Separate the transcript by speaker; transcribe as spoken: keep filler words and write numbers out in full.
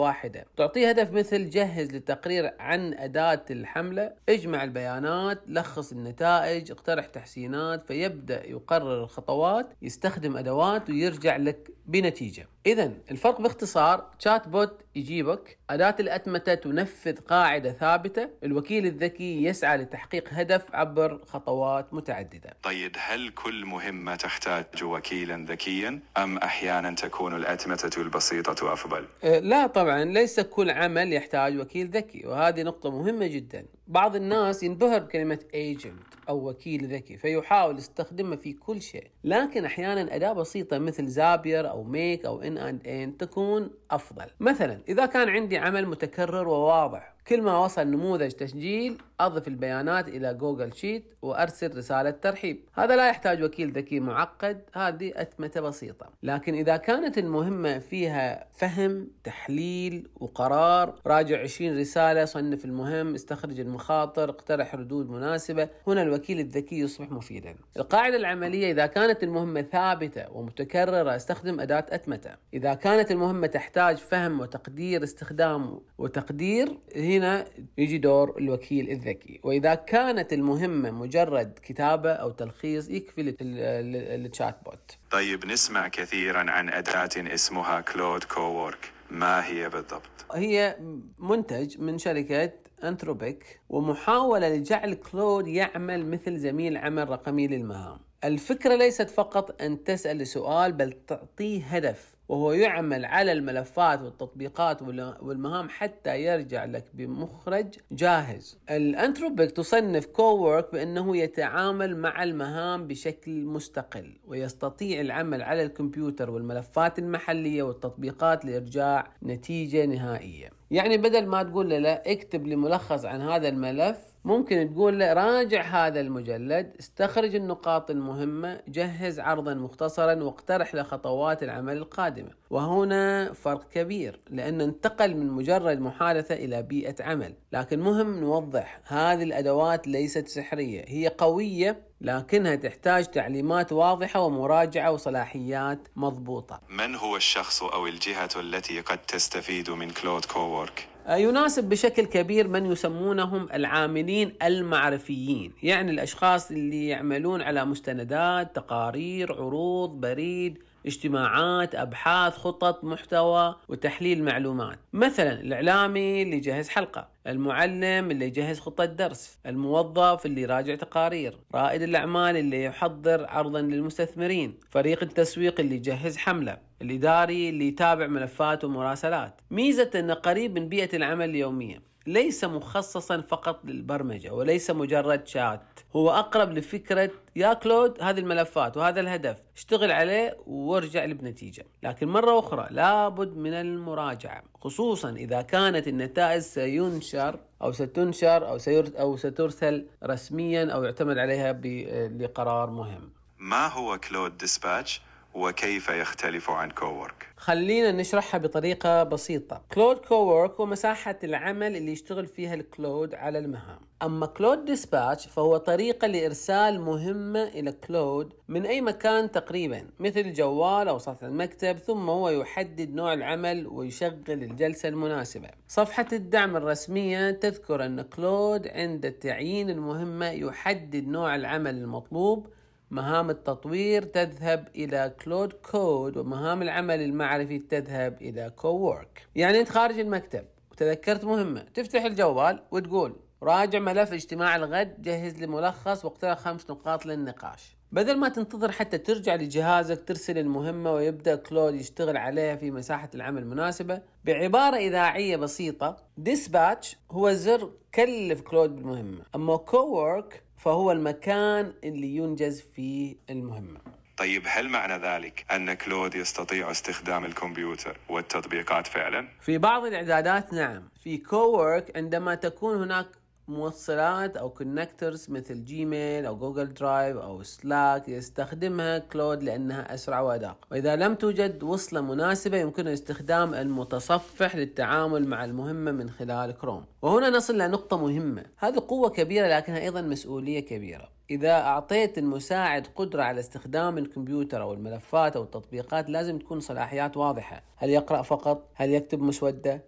Speaker 1: واحدة. تعطيه هدف مثل جهز للتقرير عن أداة الحملة، اجمع البيانات، لخص النتائج، اقترح تحسينات، فيبدأ يقرر الخطوات، يستخدم أدوات ويرجع لك بنتيجة. إذن الفرق باختصار: تشات بوت يجيبك، أداة الأتمتة تنفذ قاعدة ثابتة، الوكيل الذكي يسعى لتحقيق هدف عبر خطوات متعددة.
Speaker 2: طيب، هل كل مهمة تحتاج وكيلا ذكيا أم أحيانا تكون الأتمتة البسيطة أفضل؟
Speaker 1: أه لا طبعا، ليس كل عمل يحتاج وكيل ذكي، وهذه نقطة مهمة جدا. بعض الناس ينبهر بكلمة agent أو وكيل ذكي فيحاول يستخدمه في كل شيء، لكن أحيانا أداة بسيطة مثل زابير أو ميك أو إن أند إن تكون أفضل. مثلا إذا كان عندي عمل متكرر وواضح، كل ما وصل نموذج تسجيل أضف البيانات إلى جوجل شيت وأرسل رسالة ترحيب. هذا لا يحتاج وكيل ذكي معقد، هذه أتمتة بسيطة. لكن إذا كانت المهمة فيها فهم، تحليل وقرار، راجع عشرين رسالة، صنف المهم، استخرج المخاطر، اقترح ردود مناسبة، هنا الوكيل الذكي يصبح مفيدا. القاعدة العملية: إذا كانت المهمة ثابتة ومتكررة استخدم أداة أتمتة. إذا كانت المهمة تحتاج فهم وتقدير استخدام وتقدير، هنا يجي دور الوكيل الذكي. وإذا كانت المهمة مجرد كتابة أو تلخيص، يكفي التشات بوت.
Speaker 2: طيب، نسمع كثيرا عن أداة اسمها كلود كوورك، ما هي بالضبط؟
Speaker 1: هي منتج من شركة أنثروبيك، ومحاولة لجعل كلود يعمل مثل زميل عمل رقمي للمهام. الفكرة ليست فقط أن تسأل سؤال، بل تعطيه هدف، وهو يعمل على الملفات والتطبيقات والمهام حتى يرجع لك بمخرج جاهز. الأنثروبيك تصنف كوورك بأنه يتعامل مع المهام بشكل مستقل، ويستطيع العمل على الكمبيوتر والملفات المحلية والتطبيقات لإرجاع نتيجة نهائية. يعني بدل ما تقول له لا اكتب لي ملخص عن هذا الملف، ممكن تقول له راجع هذا المجلد، استخرج النقاط المهمة، جهز عرضا مختصرا، واقترح لخطوات العمل القادمة. وهنا فرق كبير، لأن انتقل من مجرد محادثة إلى بيئة عمل. لكن مهم نوضح، هذه الأدوات ليست سحرية، هي قوية، لكنها تحتاج تعليمات واضحة ومراجعة وصلاحيات مضبوطة.
Speaker 2: من هو الشخص أو الجهة التي قد تستفيد من كلود كوورك؟
Speaker 1: يناسب بشكل كبير من يسمونهم العاملين المعرفيين، يعني الأشخاص اللي يعملون على مستندات، تقارير، عروض، بريد، اجتماعات، أبحاث، خطط محتوى وتحليل معلومات. مثلا الإعلامي اللي يجهز حلقة، المعلم اللي يجهز خطة درس، الموظف اللي يراجع تقارير، رائد الأعمال اللي يحضر عرضا للمستثمرين، فريق التسويق اللي يجهز حملة، الإداري اللي يتابع ملفات ومراسلات. ميزة أنه قريب من بيئة العمل اليومية، ليس مخصصا فقط للبرمجة وليس مجرد شات، هو أقرب لفكرة يا كلود هذه الملفات وهذا الهدف، اشتغل عليه وارجع لي بنتيجة. لكن مرة أخرى لابد من المراجعة، خصوصا إذا كانت النتائج سينشر أو ستنشر أو, أو سترسل رسميا أو يعتمد عليها لقرار مهم.
Speaker 2: ما هو كلود ديسباتش وكيف يختلف عن كوورك؟
Speaker 1: خلينا نشرحها بطريقة بسيطة. كلود كوورك هو مساحة العمل اللي يشتغل فيها الكلود على المهام. أما كلود ديسباتش فهو طريقة لإرسال مهمة إلى كلود من أي مكان تقريبا، مثل الجوال أو سطح المكتب، ثم هو يحدد نوع العمل ويشغل الجلسة المناسبة. صفحة الدعم الرسمية تذكر أن كلود عند تعيين المهمة يحدد نوع العمل المطلوب. مهام التطوير تذهب إلى كلود كود، ومهام العمل المعرفي تذهب إلى كوورك. يعني أنت خارج المكتب وتذكرت مهمة، تفتح الجوال وتقول راجع ملف اجتماع الغد، جهز لي ملخص واقترح خمس نقاط للنقاش. بدل ما تنتظر حتى ترجع لجهازك ترسل المهمة ويبدأ كلود يشتغل عليها في مساحة العمل المناسبة. بعبارة إذاعية بسيطة، ديسباتش هو زر كلف كلود بالمهمة، أما كوورك فهو المكان اللي ينجز فيه المهمة.
Speaker 2: طيب، هل معنى ذلك أن كلود يستطيع استخدام الكمبيوتر والتطبيقات فعلا؟
Speaker 1: في بعض الإعدادات نعم. في كوورك عندما تكون هناك موصلات أو كونكتورز مثل جيميل أو جوجل درايف أو سلاك، يستخدمها كلود لأنها أسرع وأدق. وإذا لم توجد وصلة مناسبة يمكن استخدام المتصفح للتعامل مع المهمة من خلال كروم. وهنا نصل لنقطة مهمة، هذه قوة كبيرة لكنها أيضا مسؤولية كبيرة. إذا أعطيت المساعد قدرة على استخدام الكمبيوتر أو الملفات أو التطبيقات، لازم تكون صلاحيات واضحة. هل يقرأ فقط؟ هل يكتب مسودة؟